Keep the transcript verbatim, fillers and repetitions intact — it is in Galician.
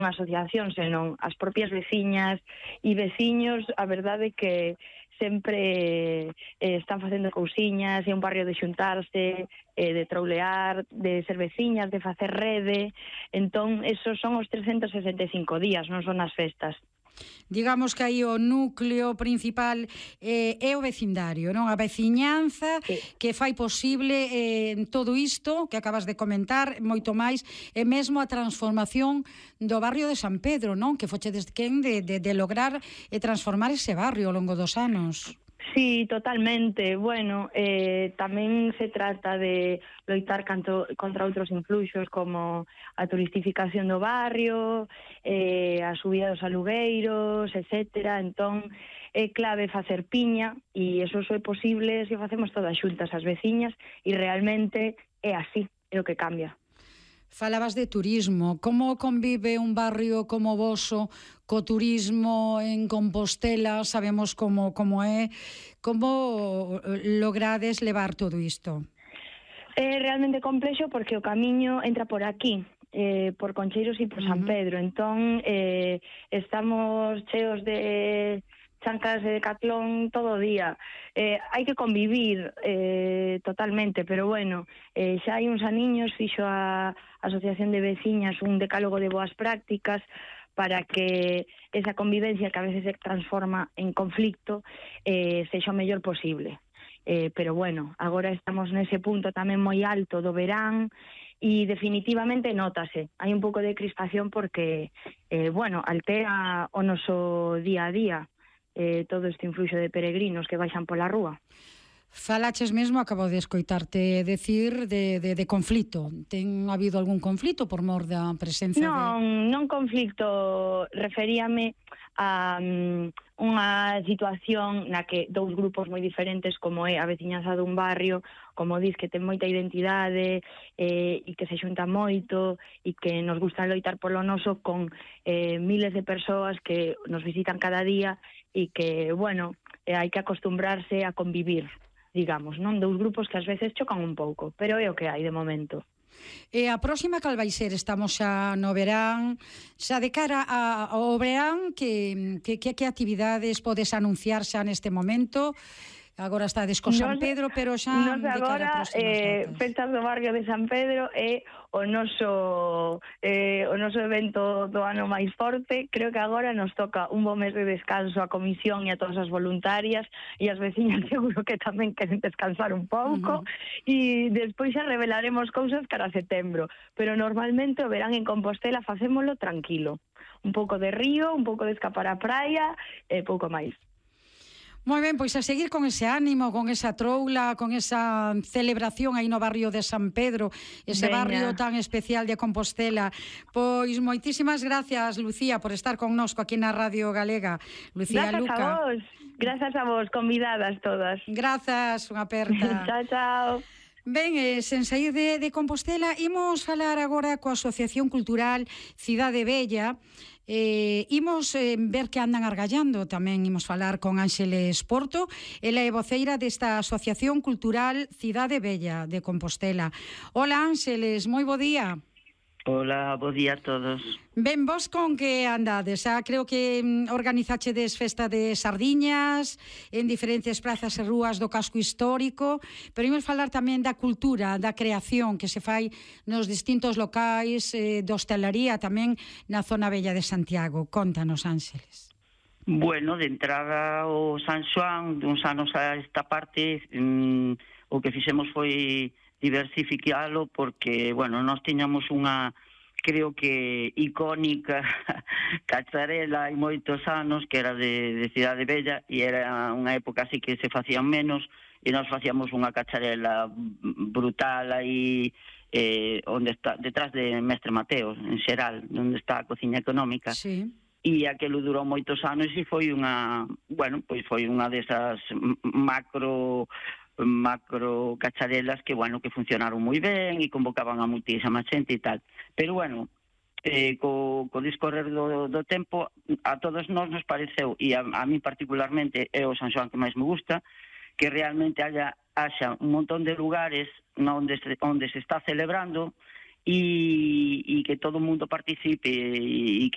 unha asociación, senón as propias veciñas e veciños, a verdade que sempre eh, están facendo cousiñas, é un barrio de xuntarse, eh, de troulear, de ser veciñas, de facer rede. Entón, esos son os trescentos sesenta e cinco días, non son as festas. Digamos que aí o núcleo principal eh, é o vecindario, non? A veciñanza Sí. que fai posible eh, todo isto que acabas de comentar, moito máis, e mesmo a transformación do barrio de San Pedro, non? Que fochedes quen de, de, de lograr e transformar ese barrio ao longo dos anos. Sí, totalmente. Bueno, eh, tamén se trata de loitar canto, contra outros influxos como a turistificación do barrio, eh, a subida dos alugueiros, etcétera. Entón, é clave facer piña e eso só é posible se o facemos todas xuntas as veciñas e realmente é así, é o que cambia. Falabas de turismo. Como convive un barrio como o voso co turismo en Compostela? Sabemos como, como é. Como logrades levar todo isto? É realmente complexo porque o camiño entra por aquí, eh, por Concheiros e por San Pedro. Entón, eh, estamos cheos de chancas de Decathlon todo o día. Eh, hai que convivir eh, totalmente, pero bueno, eh, xa hai uns aniños fixo a Asociación de Veciñas un decálogo de boas prácticas para que esa convivencia que a veces se transforma en conflicto eh, sexa o mellor posible. Eh, pero bueno, agora estamos nese punto tamén moi alto do verán e definitivamente nótase. Hai un pouco de crispación porque, eh, bueno, altera o noso día a día. Eh, todo este influxo de peregrinos que baixan pola rúa. Falaches mesmo, acabo de escoitarte decir de, de, de conflito. Ten habido algún conflito por mor da presencia non, de... Non conflito, referíame a um, unha situación na que dous grupos moi diferentes como é a veciñanza dun barrio, como dis que ten moita identidade eh, e que se xunta moito e que nos gusta loitar polo noso con eh, miles de persoas que nos visitan cada día e que, bueno, eh, hai que acostumbrarse a convivir, digamos, non? Dous grupos que ás veces chocan un pouco, pero é o que hai de momento. E a próxima cal vai ser? Estamos xa no verán, xa de cara a, ao verán, que, que, que, que actividades podes anunciar xa neste momento? Agora estades co San Pedro, pero xa de cara a próximas eh, datas. Festas do barrio de San Pedro é o noso eh, o noso evento do ano máis forte. Creo que agora nos toca un bo mes de descanso a comisión e a todas as voluntarias e as veciñas seguro que tamén queren descansar un pouco. Uh-huh. E despois xa revelaremos cousas cara a setembro, pero normalmente o verán en Compostela facémolo tranquilo, un pouco de río, un pouco de escapar á praia e pouco máis. Moi ben, pois a seguir con ese ánimo, con esa troula, con esa celebración aí no barrio de San Pedro, ese Veña. Barrio tan especial de Compostela. Pois moitísimas gracias, Lucía, por estar connosco aquí na Radio Galega. Lucía Grazas Luca. a vos, grazas a vos, convidadas todas. Grazas, unha aperta. Chao, chao. Ben, eh, sen sair de, de Compostela, imos falar agora coa Asociación Cultural Cidade Bella. Eh, imos eh, ver que andan argallando. Tamén imos falar con Ánxeles Porto. Ela é voceira desta Asociación Cultural Cidade Bella de Compostela. Hola, Ánxeles, moi bo día. Hola, bo día a todos. Ben, vos con que andades? Ah, creo que mm, organizachedes festa de sardiñas en diferentes prazas e rúas do casco histórico, pero imos falar tamén da cultura, da creación que se fai nos distintos locais eh, de hostelería tamén na zona bella de Santiago. Contanos, Ánxeles. Bueno, de entrada o San Xoán, duns anos a esta parte, mm, o que fixemos foi diversificalo porque, bueno, nós tiñamos unha, creo que icónica cacharela hai moitos anos que era de, de Cidade Bella e era unha época así que se facían menos e nós facíamos unha cacharela brutal aí eh, onde está, detrás de Mestre Mateo, en Xeral, onde está a cociña económica. Sí. E aquelo durou moitos anos e foi unha, bueno, pois foi unha desas macro macro cacharelas que, bueno, que funcionaron moi ben e convocaban a muitísima xente e tal. Pero, bueno, eh, co, co discorrer do, do tempo, a todos nós nos pareceu, e a, a mí particularmente é o San Xoán que máis me gusta, que realmente haya, haxa un montón de lugares onde se, onde se está celebrando e, e que todo o mundo participe e que